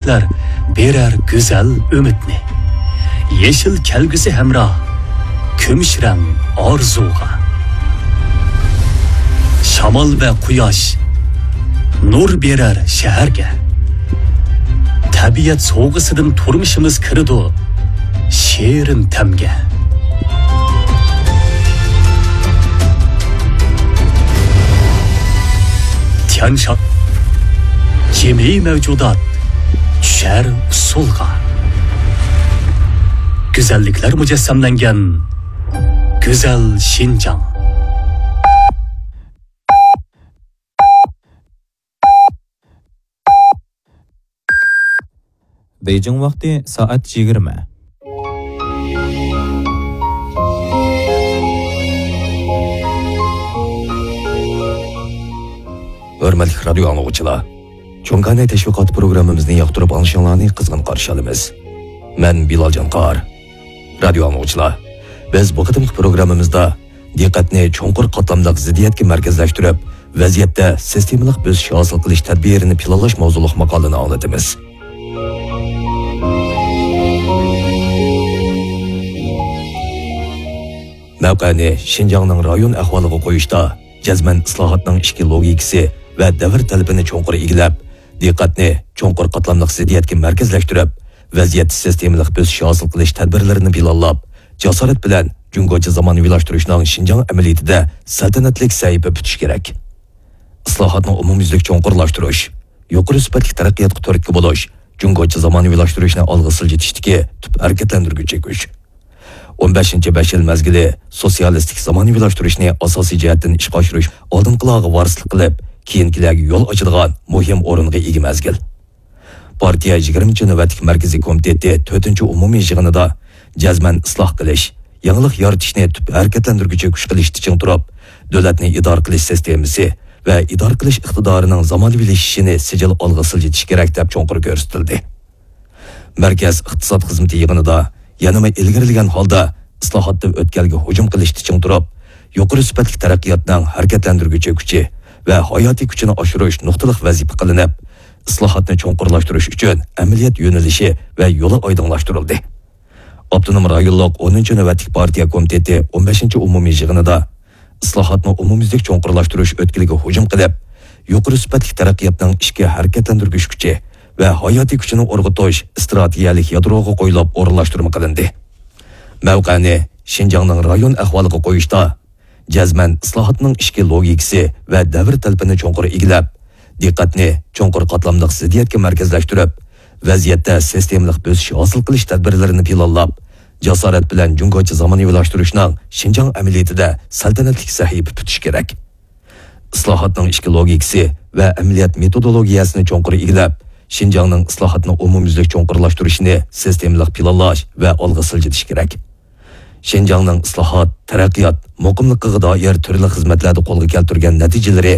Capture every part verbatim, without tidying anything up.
بېرەر گۈزەل ئۈمىدنى. يېشىل كەلگۈسى ھەمراھ كۈمۈش رەڭ ئارزۇغا. شامال ۋە قۇياش نۇر بېرەر شەھەرگە. تەبىئەت سوۋغىسىدىن تۇرمۇشىمىز كىرىدۇ شېرىن تەمگە. تيەنشان، جىمى مەۋجۇدات چۈشەر ئۇسسۇلغا. گۈزەللىكلەر مۇجەسسەملەنگەن گۈزەل شىنجاڭ. 北京 ۋاقتى سائەت يىگىرمە. ھۆرمەتلىك رادىيو ئاڭلىغۇچىلار، چوڭ كاناي تەشۋىقات پروگراممىمىزنى ياقتۇرۇپ ئاڭلىشىڭلارنى قىزغىن قارشى ئالىمىز. مەن بىلال جانقار. رادىيو ئاڭلىغۇچىلار، بىز بۇ قېتىمقى پروگراممىمىزدا دىققەتنى چوڭقۇر قاتلاملىق زىددىيەتكە مەركەزلەشتۈرۈپ، ۋەزىيەتتە سىستېمىلىق بۆسۈش ھاسىل قىلىش تەدبىرىنى پىلانلاش ماۋزۇلۇق ماقالىنى ئاڭلىتىمىز. مەۋقەنى شىنجاڭنىڭ رايون ئەھۋالىغا قويۇشتا جەزمەن ئىسلاھاتنىڭ ئىچكى لوگىكىسى ۋە دەۋر تەلىپىنى چوڭقۇر ئىگىلەپ، دىققەتنى چوڭقۇر قاتلاملىق زىددىيەتكە مەركەزلەشتۈرۈپ، ۋەزىيەتتە سىستېمىلىق بۆسۈش ھاسىل قىلىش تەدبىرلىرىنى پىلانلاپ، جاسارەت بىلەن جۇڭگوچە زامانىۋىلاشتۇرۇشنىڭ شىنجاڭ ئەمەلىيىتىدە سەلتەنەتلىك سەھىپە پۈتۈشى كېرەك. ئىسلاھاتنى ئومۇميۈزلۈك چوڭقۇرلاشتۇرۇش، يۇقىرى سۈپەتلىك تەرەققىياتقا تۈرتكە بولۇش، جۇڭگوچە زامانىۋىلاشتۇرۇشنى ئالغا سىلجىتىشتىكى تۈپ ھەرىكەتلەندۈرگۈچى كۈچ. ئون بەشىنچى بەش يىل مەزگىلى سوتسىيالىستىك زامانىۋىلاشتۇرۇشنى ئاساسىي جەھەتتىن ئىشقا ئاشۇرۇش، ئالدىنقىلارغا ۋارىسلىق قىلىپ، كېيىنكىلەرگە يول ئاچىدىغان مۇھىم ئورۇنغا ئىگە مەزگىل. پارتىيە يىگىرمىنچى نۆۋەتلىك مەركىزىي كومىتېتى تۆتىنچى ئومۇمىي يىغىنىدا جەزمەن ئىسلاھ قىلىش، يېڭىلىق يارىتىشنى تۈپ ھەرىكەتلەندۈرگۈچى كۈچ قىلىشتا چىڭ تۇرۇپ، دۆلەتنى ئىدارە قىلىش سىستېمىسى ۋە ئىدارە قىلىش ئىقتىدارىنىڭ زامانىۋىلىشىشىنى سىجىل ئالغا سىلجىتىش كېرەك، دەپ چوڭقۇر كۆرسىتىلدى. مەركەز ئىقتىساد خىزمىتى يىغىنىدا يەنىمۇ ئىلگىرىلىگەن ھالدا ئىسلاھاتتا ئۆتكەلگە ھۇجۇم قىلىشتا چىڭ تۇرۇپ، يۇقىرى سۈپەتلىك تەرەققىياتنىڭ ھەرىكەتلەندۈرگۈچى كۈچى ۋە ھاياتىي كۈچىنى ئاشۇرۇش نۇقتىلىق ۋەزىپە قىلىنىپ، ئىسلاھاتنى چوڭقۇرلاشتۇرۇش ئۈچۈن ئەمەلىيەت يۆنىلىشى ۋە يولى ئايدىڭلاشتۇرۇلدى. ئاپتونوم رايونلۇق ئونىنچى نۆۋەتلىك پارتىيە كومىتېتى ئون بەشىنچى ئومۇمىي يىغىنىدا ئىسلاھاتنى ئومۇميۈزلۈك چوڭقۇرلاشتۇرۇش ئۆتكىلىگە ھۇجۇم قىلىپ، يۇقىرى سۈپەتلىك تەرەققىياتنىڭ ئىچكى ھەرىكەتلەندۈرگۈچ كۈچى ۋە ھاياتىي كۈچىنى ئۇرغۇتۇش ئىستراتېگىيەلىك يادروغا قويۇلۇپ ئورۇنلاشتۇرما قىلىندى. مەۋقەنى شىنجاڭنىڭ رايون ئەھۋالىغا قويۇشتا، جەزمەن ئىسلاھاتنىڭ ئىچكى لوگىكىسى ۋە دەۋر تەلىپىنى چوڭقۇر ئىگىلەپ، دىققەتنى چوڭقۇر قاتلاملىق زىددىيەتكە مەركەزلەشتۈرۈپ، ۋەزىيەتتە سىستېمىلىق بۆسۈش ھاسىل قىلىش تەدبىرلىرىنى پىلانلاپ، جاسارەت بىلەن جۇڭگوچە زامانىۋىلاشتۇرۇشنىڭ شىنجاڭ ئەمەلىيىتىدە سەلتەنەتلىك سەھىپە پۈتۈش كېرەك. ئىسلاھاتنىڭ ئىچكى لوگىكىسى ۋە ئەمەلىيەت مېتودولوگىيەسىنى چوڭقۇر ئىگىلەپ، شىنجاڭنىڭ ئىسلاھاتنى ئومۇميۈزلۈك چوڭقۇرلاشتۇرۇشىنى سىستېمىلىق پىلانلاش ۋە ئالغا سىلجىتىش كېرەك. شىنجاڭنىڭ ئىسلاھات، تەرەققىيات، مۇقىملىقىغا دائىر تۈرلۈك خىزمەتلەردە قولغا كەلتۈرگەن نەتىجىلىرى،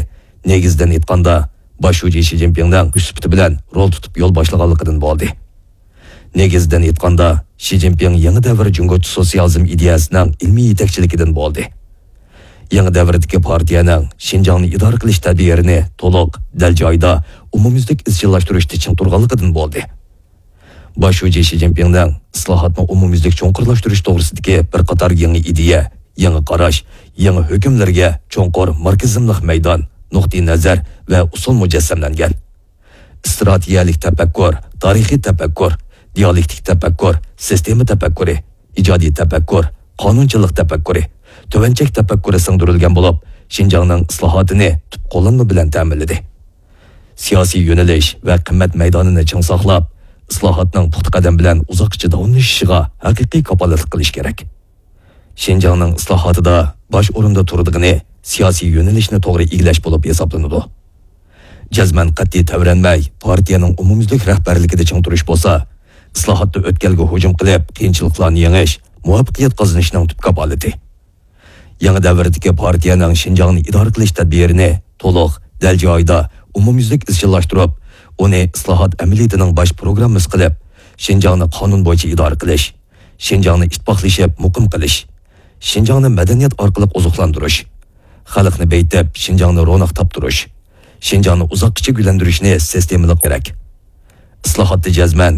نېگىزىدىن ئېيتقاندا، باش شۇجى شى جىنپىڭنىڭ كۈچ سۈپىتى بىلەن رول تۇتۇپ يول باشلىغانلىقىدىن بولدى. نېگىزىدىن ئېيتقاندا، شى جىنپىڭ يېڭى دەۋر جۇڭگوچە سوتسىيالىزم ئىدىيەسىنىڭ ئىلمىي يېتەكچىلىكىدىن بولدى. يېڭى دەۋردىكى پارتىيەنىڭ شىنجاڭنى ئىدارە قىلىش تەدبىرىنى تولۇق، دەل جايىدا، ئومۇميۈزلۈك ئىزچىللاشتۇرۇشتا چىڭ تۇرغانلىقىدىن بولدى. باش شۇجى شى جىنپىڭنىڭ ئىسلاھاتنى ئومۇميۈزلۈك چوڭقۇرلاشتۇرۇش توغرىسىدىكى بىر قاتار يېڭى ئىدىيە، يېڭى قاراش، يېڭى ھۆكۈملىرىگە چوڭقۇر ماركسىزملىق مەيدان، نۇقتىئىنەزەر ۋە ئۇسۇل مۇجەسسەملەنگەن. ئىستراتېگىيەلىك تەپەككۇر، تارىخىي تەپەككۇر، دىئالېكتىك تەپەككۇر، سىستېما تەپەككۇرى، ئىجادىي تەپەككۇر، قانۇنچىلىق تەپەككۇرى، تۆۋەن چەك تەپەككۇرى سىڭدۈرۈلگەن بولۇپ، شىنجاڭنىڭ ئىسلاھاتىنى تۈپ قوللانما بىلەن تەمىنلىدى. سىياسىي يۆنىلىش ۋە قىممەت مەيدانىنى چىڭ ساقلاپ، ئىسلاھاتنىڭ پۇختا قەدەم بىلەن ئۇزاققىچە داۋاملىشىشىغا ھەقىقىي كاپالەتلىك قىلىش كېرەك. شىنجاڭنىڭ ئىسلاھاتىدا باش ئورۇندا تۇرىدىغىنى سىياسىي يۆنىلىشنى توغرا ئىگىلەش بولۇپ ھېسابلىنىدۇ. جەزمەن قەتئىي تەۋرەنمەي، پارتىيەنىڭ ئومۇميۈزلۈك رەھبەرلىكىدە چىڭ تۇرۇش بولسا، ئىسلاھاتتا ئۆتكەلگە ھۇجۇم قىلىپ، قىيىنچىلىقلارنى يېڭىش، مۇۋەپپەقىيەت قازىنىشنىڭ تۈپ كاپالىتى. يېڭى دەۋردىكى پارتىيەنىڭ شىنجاڭنى ئىدارە قىلىش تەدبىرىنى تولۇق، دەل جايىدا، ئومۇميۈزلۈك ئىزچىللاشتۇرۇپ، ئۇنى ئىسلاھات ئەمەلىيىتىنىڭ باش پروگراممىسى قىلىپ، شىنجاڭنى قانۇن بويىچە ئىدارە قىلىش، شىنجاڭنى ئىتتىپاقلىشىپ مۇقىم قىلىش، شىنجاڭنى مەدەنىيەت ئارقىلىق ئوزۇقلاندۇرۇش، خەلقنى بېيىتىپ، شىنجاڭنى روناق تاپتۇرۇش، شىنجاڭنى ئۇزاققىچە گۈللەندۈرۈشنى سىستېمىلىق كېرەك. ئىسلاھاتتا جەزمەن